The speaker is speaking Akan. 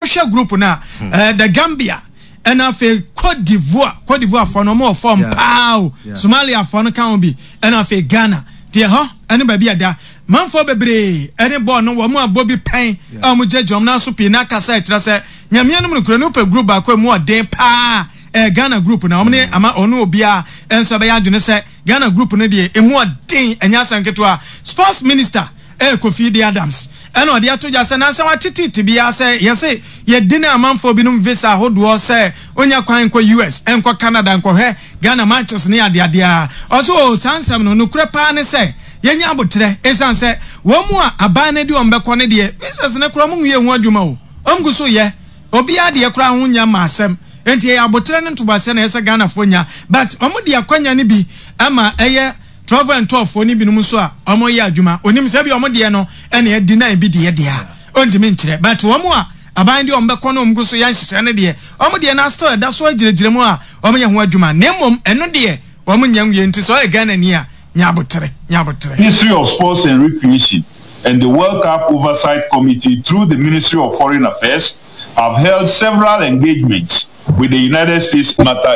Wohwɛ group no a, eh, the Gambia ɛna afei Cote d'Ivoire, Cote d'Ivoire foɔ no wɔn wɔ fam paa o, Somalia foɔ no ka ho bi, ɛna afei Ghana. Deɛ ɛhɔ ɛne baabi a ɛda. Manfoɔ bebree ɛne bɔɔl no wɔn abɔ bi pɛn a wɔn gyinagyina wɔn nan so pii na akasa ɛkyerɛ sɛ Nyame anom nokorɛ no wopɛ group baako a ɛmu ɔden paa ɛyɛ Ghana group na wɔn ne ama ɔne obiara nso ɛbɛyɛ adwene sɛ Ghana group no deɛ ɛmu ɔden ɛnyɛ asɛm ketewa. Sports minister ɛyɛ Kofi D Adams ɛna ɔde ato dwa sɛ nansa watete tebea sɛ yɛse yɛdi ne amanfoɔ binom visa ahodoɔ sɛ ɔnya kwan nkɔ US nkɔ Canada nkɔhwɛ Ghana matches ne adeadeɛ a ɔse oo saa nsɛm no nokorɛ paa ne sɛ yɛnya aboterɛ ɛsiane sɛ wɔn mu a aban no de wɔn bɛkɔ no deɛ visas no koraa wɔn nwie ho adwuma o wɔn gu so yɛ obiara deɛ koraa ho nya ma asɛm nti ɛyɛ aboterɛ ne ntoboaseɛ na ɛyɛ sɛ Ghanafoɔ nya but wɔn de akwanya no bi ama ɛyɛ Travel and tour foɔ no binom nso a wɔn yɛ adwuma onim sɛ ebia wɔn deɛ no ɛna ɛdi na ebi deɛ deɛ a ontumi nkyerɛ but wɔn a aban deɛ wɔn bɛkɔ na wɔn gu so yɛ nhyehyɛ no deɛ wɔn deɛ no still ɛda so agyinagyina mu a wɔn yɛ ho adwuma na mmom ɛno deɛ wɔn nyɛ nwie nti sɛ ɔyɛ Ghana ni a nya abotere nya abotere. Ministry of Sports and Recreation and the World Cup Oversight Committee through the Ministry of Foreign Affairs have held several engagements with the United States matter.